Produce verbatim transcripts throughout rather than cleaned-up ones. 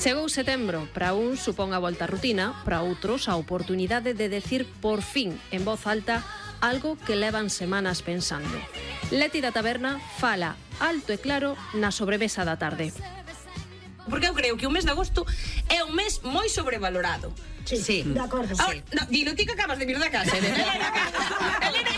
Chegou setembro, para uns supón a volta á rutina, para outros a oportunidade de decir por fin en voz alta algo que levan semanas pensando. Leti da Taberna fala alto e claro na sobremesa da tarde. Porque eu creo que o mes de agosto é un mes moi sobrevalorado. Sí, sí, de acordo. Ahora, sí. No, dilo ti que acabas de vir da casa, Elena. Elena,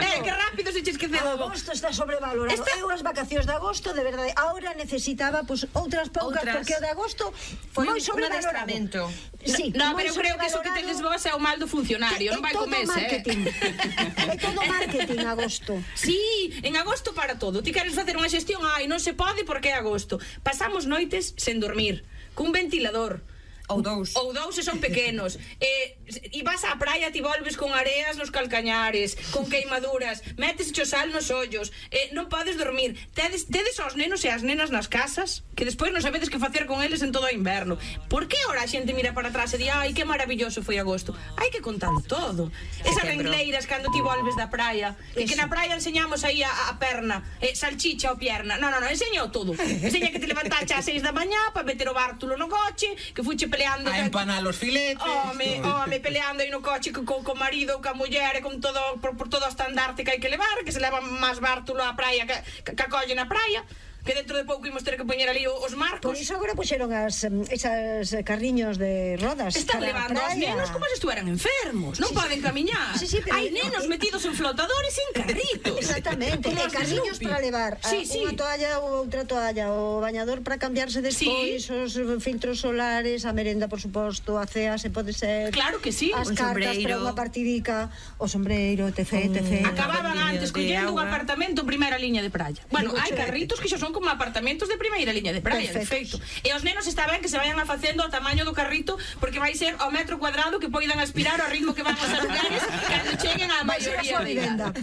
eh, que rápido se che esqueceu. Agosto está sobrevalorado. Esta... Eu as vacacións de agosto, de verdade, ahora necesitaba pues, outras poucas, outras... porque o de agosto foi moi sobrevalorado. Sí, no, no pero eu creo que eso que tedes vos é o mal do funcionario, non vai co mes, eh? É todo marketing agosto. Sí, en agosto para todo. Ti queres facer unha xestión, ai, non se pode porque é agosto. Pasamos noites sen dormir, cun ventilador. Ou dous. Ou dous se son pequenos. eh, E vas á praia, ti volves con areas nos calcañares, con queimaduras, metes cho sal nos ollos, eh, non podes dormir. Tedes, tedes aos nenos e as nenas nas casas que despois non sabedes que facer con eles en todo o inverno. Por que ora a xente mira para atrás e di ai, que maravilloso foi agosto? Hai que contar todo. Esas rengleiras cando ti volves da praia, e que na praia enseñamos aí a, a perna, eh, salchicha ou pierna. Non, non, non, enseño todo. Enseña que te levantaste ás seis da mañá para meter o bártulo no coche, que fuche peleando a empanar os filetes. Home, home, peleando aí no coche co, co marido ou ca muller e con todo por, por todo o estandarte que hai que levar, que se leva máis bártulo á praia que, que, que acolle na praia, que dentro de pouco imos ter que poñer ali os marcos. Por iso agora puxeron as, esas carriños de rodas. Están levando aos nenos como se estuveran enfermos. Non sí, poden camiñar. Sí, sí, hai nenos no, metidos en flotadores e en carritos. Exactamente. E carriños para levar sí, sí. unha toalla ou outra toalla, o bañador para cambiarse despois, sí. Os filtros solares, a merenda, por suposto, a cea se pode ser. Claro que sí. As cartas para unha partidica, o sombreiro, etc, etc. Acababan antes collendo un apartamento en primeira liña de praia. Bueno, hai carritos que xa son como apartamentos de primeira liña de praia, de feito. E os nenos está ben que se vayan a facendo ao tamaño do carrito, porque vai ser ao metro cuadrado que poidan aspirar ao ritmo que van os lugares cando cheguen á maioría de idade.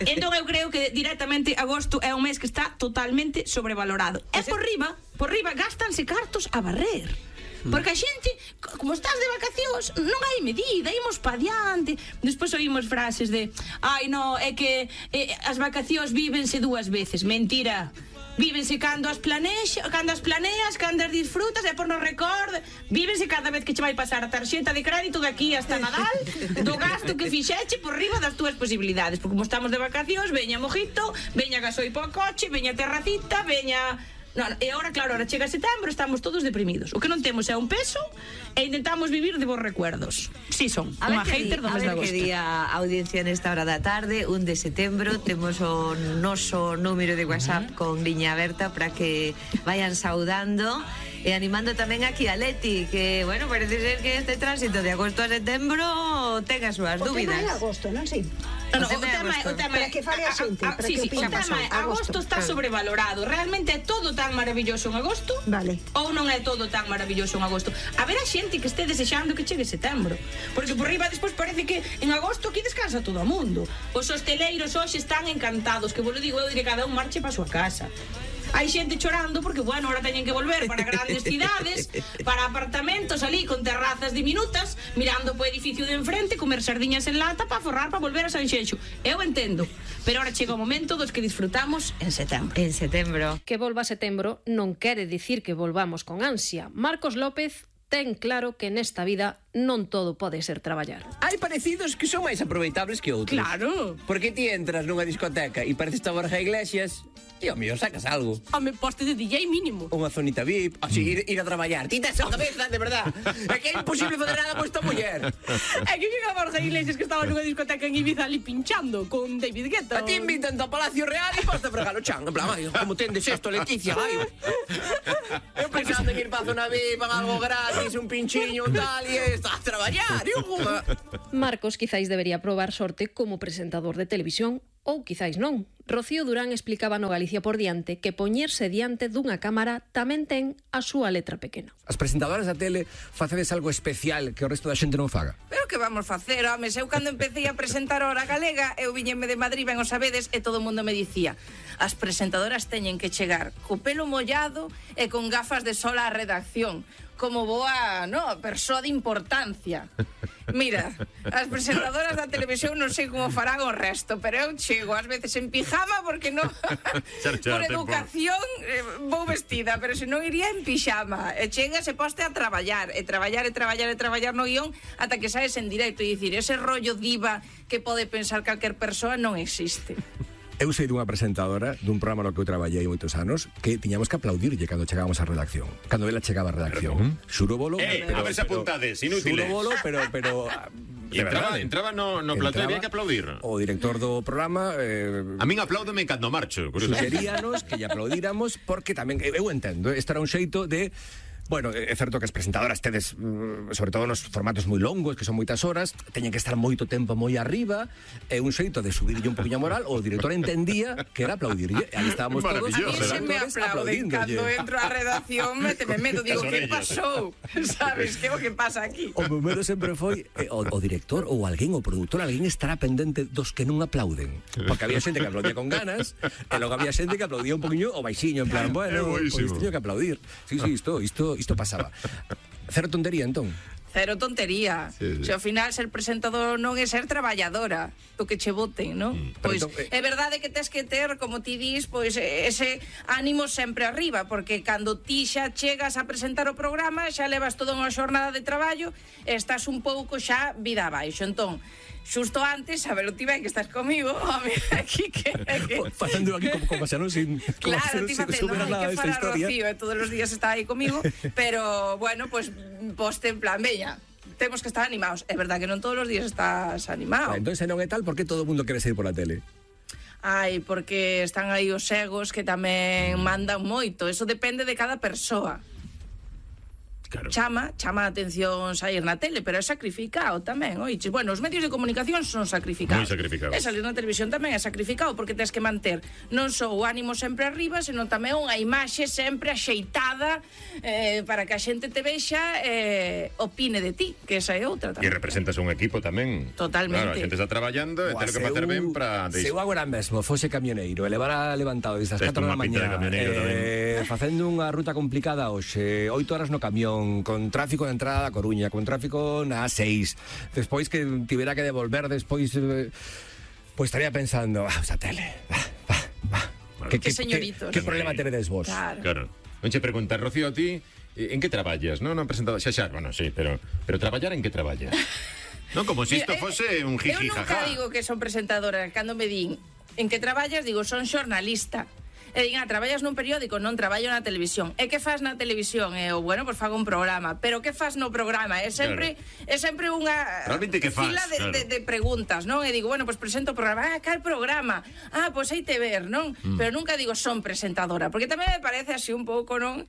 Entón eu creo que directamente agosto é un mes que está totalmente sobrevalorado. E por riba, por riba gastanse cartos a barrer. Porque a xente, como estás de vacacións, non hai medida, imos pa diante. Despois oímos frases de ai, no, é que eh, as vacacións vívense dúas veces. Mentira. Vívense cando as planeas, cando as planeas, cando as disfrutas e por non recorde. Vívense cada vez que che vai pasar a tarxeta de crédito de aquí hasta Nadal, do gasto que fixeche por riba das túas posibilidades. Porque como estamos de vacacións, veña mojito, veña gasoil po coche, veña terracita, veña... Non, e agora, claro, ahora chega setembro, estamos todos deprimidos. O que non temos é un peso e intentamos vivir de bons recuerdos. Si son, unha hater do mes de agosto. A ver que día a audiencia nesta hora da tarde, un de setembro, temos o noso número de WhatsApp con liña aberta para que vayan saudando e animando tamén aquí a Leti, que, bueno, parece ser que este tránsito de agosto a setembro ten as súas dúbidas. O tema é agosto, non? Si. No, no, o, tema, o tema é que fale a xente, a, a, sí, sí, o tema é agosto está sobrevalorado. Realmente é todo tan maravilloso en agosto? Vale. Ou non é todo tan maravilloso en agosto? A ver a xente que este desexando que chegue setembro. Porque por riba despois parece que en agosto aquí descansa todo o mundo. Os hosteleiros hoxe están encantados, que vos lo digo eu, de que cada un marche para a súa casa. Hai xente chorando porque, bueno, ahora teñen que volver para grandes cidades, para apartamentos ali con terrazas diminutas, mirando po edificio de enfrente, comer sardiñas en lata para forrar para volver a Sanxenxo. Eu entendo, pero ahora chega o momento dos que disfrutamos en setembro. En setembro. Que volva a setembro non quere dicir que volvamos con ansia. Marcos López ten claro que nesta vida non todo pode ser traballar. Hai parecidos que son máis aproveitables que outros. Claro. Porque ti entras nunha discoteca e pareces a Borja Iglesias e ao mellor sacas algo. Home, poste de D J mínimo. Unha zonita V I P, así, ir, ir a traballar. Ti tes a cabeza, de verdad. É que é imposible fazer nada con esta muller. É que que a Borja Iglesias que estaba nunha discoteca en Ibiza ali pinchando con David Guetta. A ti invitan ao Palacio Real e podes fregar o chan. En plan, ai, como tendes esto, Leticia, ai. Eu pensando en ir pa zona V I P, algo gratis, un pinchiño, tal, e está a traballar. Marcos quizáis debería probar sorte como presentador de televisión, ou quizáis non. Rocío Durán explicaba no Galicia por diante que poñerse diante dunha cámara tamén ten a súa letra pequena. As presentadoras da tele facedes algo especial que o resto da xente non faga. Pero que vamos facer, home, eu cando empecé a presentar a Hora Galega, eu viñeme de Madrid, ben o sabedes, e todo o mundo me dicía: as presentadoras teñen que chegar co pelo mollado e con gafas de sol á redacción, como boa, no, persoa de importancia. Mira, as presentadoras da televisión non sei como farán o resto, pero eu chego ás veces en pijama porque non por educación eh, vou vestida, pero se non iría en pijama. E chegas e poste a traballar, e traballar, e traballar, e traballar no guión ata que saes en directo e dicir, ese rollo diva que pode pensar calquer persoa non existe. Eu sei dunha presentadora dun programa no que eu traballei moitos anos que tiñamos que aplaudirlle cando chegábamos á redacción. Cando ela chegaba á redacción. Xuro bolo. Eh, a ver se apuntades, inútiles. Xuro bolo, pero... pero E entraba, entraba no, no plató e había que aplaudir. O director do programa... Eh, a min apláudome cando marcho. Sugeríanos que lle aplaudíramos porque tamén... Eu entendo, isto era un xeito de... Bueno, é certo que as presentadoras tedes, sobre todo nos formatos moi longos, que son moitas horas, teñen que estar moito tempo moi arriba, é un xeito de subirlle un poquinho a moral, o director entendía que era aplaudirlle, e aí estábamos todos... A mí se me aplauden cando entro á redacción, méteme medo, digo, que pasou? Sabes, que é o que pasa aquí? O meu medo sempre foi eh, o, o director ou alguén, o produtor, alguén estará pendente dos que non aplauden, porque había xente que aplaudía con ganas, e logo había xente que aplaudía un poquinho o baixiño, en plan, bueno, pois teño que aplaudir. Sí, sí, isto, isto Isto pasaba. Cero tontería, entón? Cero tontería. Sí, sí. Se ao final ser presentador non é ser traballadora, do que che voten, non? Mm. Pois entón, eh... é verdade que tes que ter, como ti dis, pois ese ánimo sempre arriba, porque cando ti xa chegas a presentar o programa, xa levas toda unha xornada de traballo, e estás un pouco xa vida abaixo. Entón, xusto antes, a ver, ti ben que estás comigo, home, aquí que... que... Facendo aquí como, como xa non sin... Claro, ti facendo, non hai que falar Rocío, e todos os días está aí comigo, pero, bueno, pues, poste en plan, veña, temos que estar animados. É verdad que non todos os días estás animado. Ah, entón, se non é tal, por que todo o mundo quere sair pola tele? Ai, porque están aí os egos que tamén mandan moito, eso depende de cada persoa. Claro. Chama, chama a atención sair na tele, pero é sacrificado tamén, oiches. Bueno, os medios de comunicación son sacrificados. Moi sacrificados. E salir na televisión tamén é sacrificado, porque tens que manter non só o ánimo sempre arriba, senón tamén unha imaxe sempre axeitada eh, para que a xente te vexa e eh, opine de ti, que esa é outra tamén. E representas un equipo tamén. Totalmente. Claro, a xente está traballando e ten que facer ben para... Se eu agora mesmo fose camioneiro e levara levantado desde as catro da mañá eh, facendo unha ruta complicada hoxe, oito horas no camión, con tráfico de entrada a Coruña, con tráfico na A seis, despois que tivera que devolver despois, eh, pois estaría pensando, ah, esa tele, va, va, va. Bueno, que, que señoritos. Que, que problema teredes vos? Claro. Claro. Non che preguntar, Rocío, a ti, en que traballas, non? Non presentado, xa xa, bueno, sí, pero pero traballar en que traballas? Non, como se si isto fose un jiji jaja. Eu nunca digo que son presentadora, cando me din en que traballas, digo, son xornalista. E din, ah, traballas nun periódico, non traballo na televisión. E que faz na televisión? E eu, bueno, pois fago un programa. Pero que faz no programa? É sempre claro. é sempre unha fila de, claro. de, de preguntas, non? E digo, bueno, pois presento o programa. Ah, cal programa? Ah, pois hai te ver, non? Mm. Pero nunca digo son presentadora, porque tamén me parece así un pouco, non?